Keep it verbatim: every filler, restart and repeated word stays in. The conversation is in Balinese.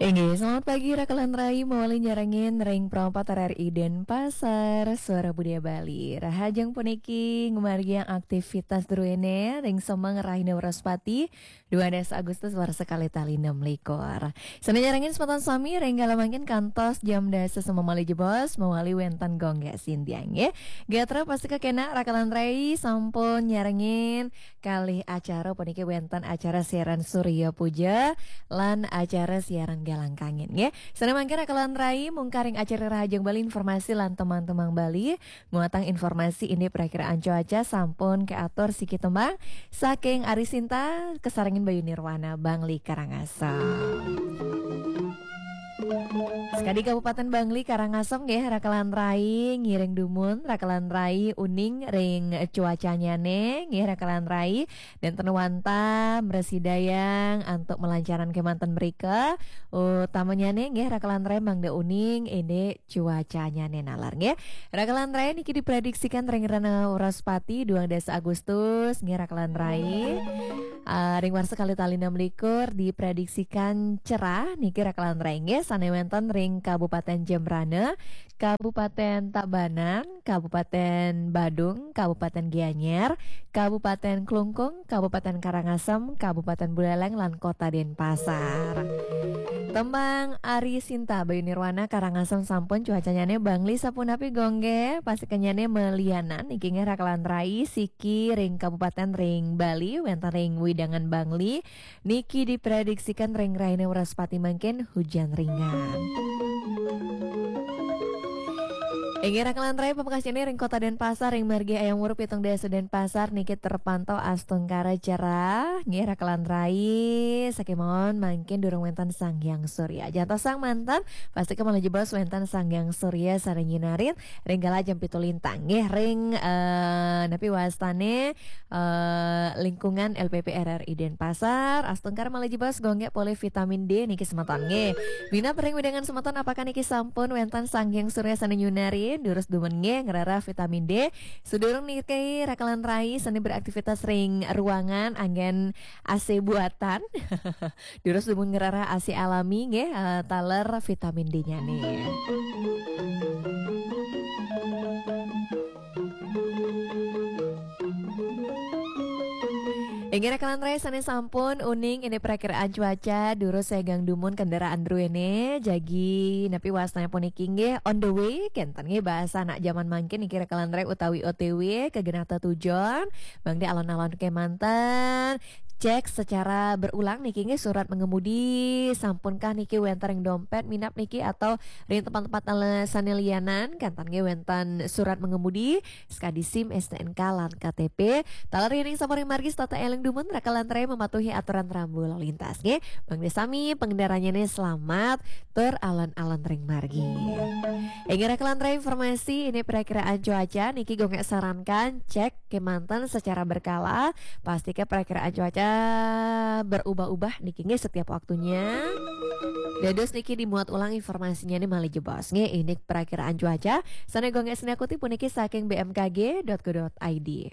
Inggih, selamat pagi, Raka lan Rai, mawali nyarengin ring Pro empat R R I Denpasar, Suara Budaya Bali. Rahajeng puniki ngamargiang aktivitas druéné ring semeng rahina Wraspati, dua belas Agustus warsa kalih tali enam likur. Sané nyarengin semeton sami ring kala mangkin kantos jam dasa semeng malih jebos, mawali wénten Gung Gék Sintiang, nggih. Gatra pastika kénak, Raka lan Rai, sampun nyarengin kalih acara puniki wénten acara siaran Surya Puja lan acara siaran Galang Kangin, nggih. Sané mangkin, Raka lan Rai, mungkaring acara Rahajeng Bali, informasi lan tembang-tembang Bali, muatan informasi indik prakiraan cuaca sampun kaatur siki tembang saking Ari Sinta, kasarengin Bayu Nirwana, Bangli Karangasem. Sakadi Kabupaten Bangli Karangasem nggih, Raka lan Rai, ngiring dumun, Raka lan Rai, uning ring cuacanyané nggih, Raka lan Rai, nénten wantah mrasidayang antuk malancaran kémanten mrika, utamanyané nggih, Raka lan Rai, mangda uning indik cuacanyané nalar nggih. Raka lan Rai, niki diprediksikan ring rahina Wraspati, dua belas Agustus nggih, Raka lan Rai. Ah, ring warsa kalih tali enam likur diprediksikan cerah niki, Raka lan Rai, nggih, sané wénten ring Kabupaten Jembrana, Kabupaten Tabanan, Kabupaten Badung, Kabupaten Gianyar, Kabupaten Klungkung, Kabupaten Karangasem, Kabupaten Buleleng, lan Kota Denpasar. Tembang Ari Sinta, Bayu Nirwana, Karangasem sampun, cuacanyané Bangli sapunapi, Gung Gék? Pastikanyané malianan niki nggih, Raka lan Rai, siki ring kabupaten ring Bali, wénten ring wewidangan Bangli, niki diprediksikan ring rahina Wraspati mangkin hujan ringan. Inggih, Raka lan Rai, pamekasnyané ring Kota Denpasar, ring margi Ayam Wuruk pitung dasa Denpasar niki terpantau astungkara cerah. Nggih, Raka lan Rai, sakémaon mangkin durung wénten Sang Hyang Surya. Jantosang manten, pastika malih jebos wénten Sang Hyang Surya sané nyinarin ring kala jam pitu lintang. Nggih, ring, eh, napi wastané, eh, lingkungan L P P R R I Denpasar, astungkara malih jebos, Gung Gék, polih vitamin D niki semeton nggih. Minab ring wewidangan semeton, apakah niki sampun wénten Sang Hyang Surya sané nyinarin? Durus dumun nggih, ngrereh vitamin D. Sadurung niki, Raka lan Rai, sané beraktivitas ring ruangan anggén A C buatan. Durus dumun ngrereh A C alami nggih, eh, taler vitamin D-nyané. Inggih, Raka lan Rai, sané sampun uning indik prakiraan cuaca, durus segang dumun kendaraan druéné, jagi napi wastané puniki nggih, on the way, kénten nggih, bahasa anak jaman mangkin niki, Raka lan Rai, utawi O T W, ka genah tetujon, mangda alon-alon kémanten, cek secara berulang niki nggih, surat mengemudi, sampunkah niki wénten ring dompét, minab niki atau ring tempat-tempat ale-, sané lianan, kénten nggih wénten surat mengemudi, sakadi SIM, S T N K, lan K T P. Taler yéning sampun ring margi, setata éling dumun, Raka lan Rai, mematuhi aturan rambu lalu lintas nggih. Mangda sami pangendaranyané selamat tur alon-alon ring margi. Inggih, Raka lan Rai, informasi indik prakiraan cuaca niki Gung Gék sarankan cek kémanten secara berkala, pastika prakiraan cuaca berubah-ubah niki nggih setiap waktunya. Dados niki dimuat ulang informasinyané malih jebos nggih, indik prakiraan cuaca sané Gung Gék sinakutip puniki saking B M K G dot go dot I D.